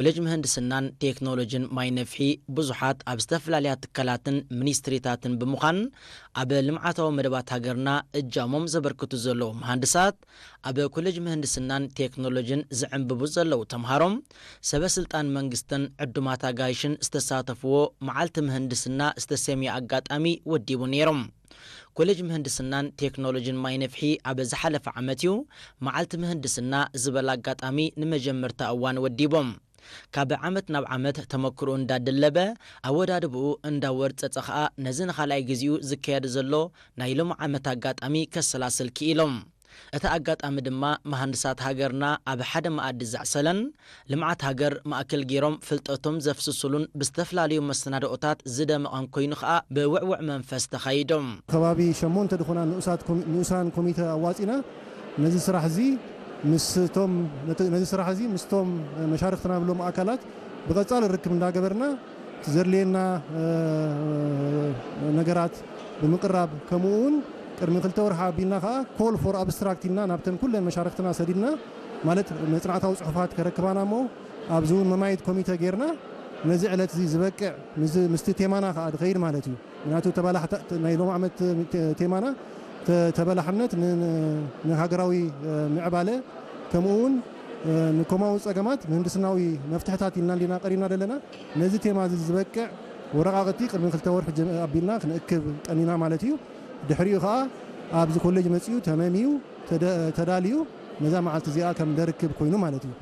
ኮሌጅ ምህንድስናን ቴክኖሎጂን ማይ ነፍሒ ብዙሓት ኣብ ዝተፈላለያ ትካላትን ሚኒስትሪታትን ብምዃን ኣብ ልምዓታዊ መደባት ሃገርና እጃሞም ዘበርክቱ ዘለዉ መሃንድሳት፣ ኣብ ኮሌጅ ምህንድስናን ቴክኖሎጂን ዝዕንብቡ ዘለዉ ተምሃሮም፣ ሰበ ስልጣን መንግስትን ዕዱማት ኣጋይሽን ዝተሳተፍዎ መዓልቲ ምህንድስና ዝተሰምየ ኣጋጣሚ ወዲቡ ነይሮም። ኮሌጅ ምህንድስናን ቴክኖሎጂን ማይ ነፍሒ ኣብ ዝሓለፈ ዓመት እዩ መዓልቲ ምህንድስና ዝበል ኣጋጣሚ ንመጀመርታ እዋን ወዲቦም። ካብ ዓመት ናብ ዓመት ተመክሮ እንዳደለበ፣ ኣወዳድብኡ እንዳወርጸጸ ኸኣ ነዚ ንኻልኣይ ግዜኡ ዝካየድ ዘሎ ናይ ሎም ዓመት ኣጋጣሚ ከሰላስል ክኢሎም። እቲ ኣጋጣሚ ድማ መሃንድሳት ሃገርና ኣብ ሓደ መኣዲ ዘዕሰለን ልምዓት ሃገር ማእከል ገይሮም ፍልጠቶም ዘፍስሱሉን ብዝተፈላለዩ መሰናድኦታት ዝደመቐን ኮይኑ ኸኣ ብውዕውዕ መንፈስ ተኻይዶም። ከባቢ ሸሞንተ ዝኾና ንኡሳት ኮሚ-፣ ንኡሳን ኮሚተ ኣዋጺና ነዚ ስራሕ እዚ ምስቶም፣ ነቲ፣ ነዚ ስራሕ እዚ ምስቶም መሻርኽትና ብሎም ኣካላት ብቐጻሊ ርክብ እንዳገበርና ዘድልየና፣ እ፣ ነገራት ብምቅራብ፣ ከምኡ እውን ቅድሚ ክልተ ወርሒ ኣቢልና ከዓ ኮል ፎር ኣብስትራክት ኢልና ናብተን ኩለን መሻርኽትና ሰዲድና፣ ማለት መጽናዕታዊ ጽሑፋት ከረክባና እሞ ኣብዚ እውን መማየት ኮሚተ ጌርና ነዚ ዕለት እዚ ዝበቅዕ ምስዚ፣ ምስቲ ቴማና ከዓ ድኸይድ ማለት እዩ። ምክንያቱ ተባላሕታ-፣ ናይ ሎም ዓመት ቴ-፣ ቴማና ተ-፣ ተበላሕነት ን-፣ ን-፣ ንሃገራዊ፣ እ፣ ምዕባለ ከምኡ እውን፣ እ፣ ንኮማዊ ጸገማት ምህንድስናዊ መፍትሕታት ኢልና እንዲና ቀሪብና ዘለና። ነዚ ቴማ እዚ ዝበቅዕ ወረቓቕቲ ቅድሚ ክልተ ወርሒ ጀም-፣ ኣቢልና ክንእክብ ቀኒና ማለት እዩ። ድሕሪኡ ኸኣ ኣብዚ ኮሌጅ መጺኡ ተመምዩ ተደ-፣ ተዳልዩ ነዛ መዓልቲ እዚኣ ከም ደርክብ ኮይኑ ማለት እዩ።